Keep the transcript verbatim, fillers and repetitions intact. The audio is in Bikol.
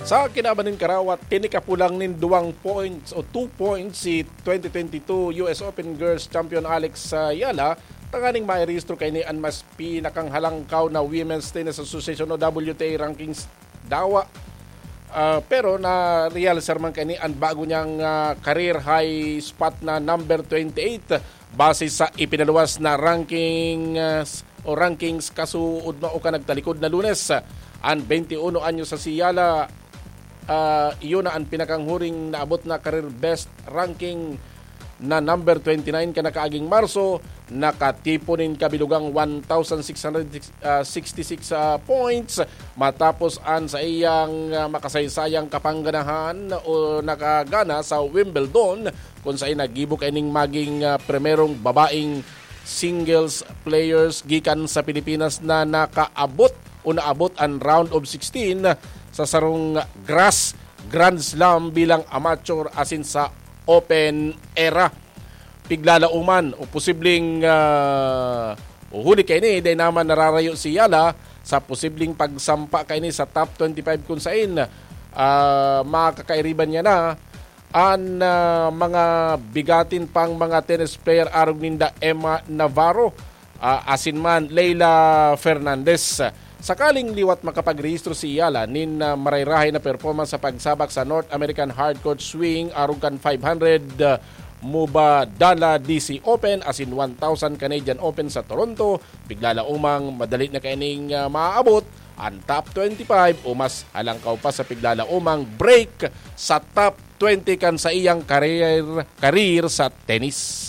Sa kinaban nin karawat, tinikapulang nin duwang points o two points si twenty twenty-two U S Open Girls Champion Alex ah, Yala, tanganing mairehistro kaini an mas pinakanghalangkaw na Women's Tennis Association o W T A rankings dawa. Ah, pero na-realize man kaini an bago niyang ah, career high spot na number twenty-eight base sa ipinaluwas na ranking ah, o rankings kasuodma o ka nagtalikod na Lunes. An twenty-one anyos sa si Yala, ah, iyo na an pinakanghuring naabot na career best ranking na number twenty-nine kan nakaaging Marso, nakatipon nin kabilugang one thousand six hundred sixty-six ah, points matapos an sa iyang ah, makasaysayang kapangganahan o nakagana sa Wimbledon, kung saan nagibo kaining maging ah, primerong babaeng singles players gikan sa Pilipinas na nakaabot o naabot an round of sixteen sa sarong grass Grand Slam bilang amateur asin sa open era. Piglalauman o posibleng ah, o huli kaini, dai naman nararayo si Yala sa posibleng pagsampa kaini sa top twenty-five, kung sain ah, makakairiban niya na an ah, mga bigatin pang mga tennis player arog ninda Emma Navarro ah, asin man Leila Fernandez. Sakaling liwat makapagrehistro si Yala nin ah, marayrahay na performance sa pagsabak sa North American Hardcourt Swing arog kan five hundred ah, Mubadala D C Open asin one thousand Canadian Open sa Toronto, piglalaomang madali na kaining ah, maaabot an top twenty-five o mas halangkaw pa sa piglalaomang break sa top twenty kan sa iyang career, career sa tennis.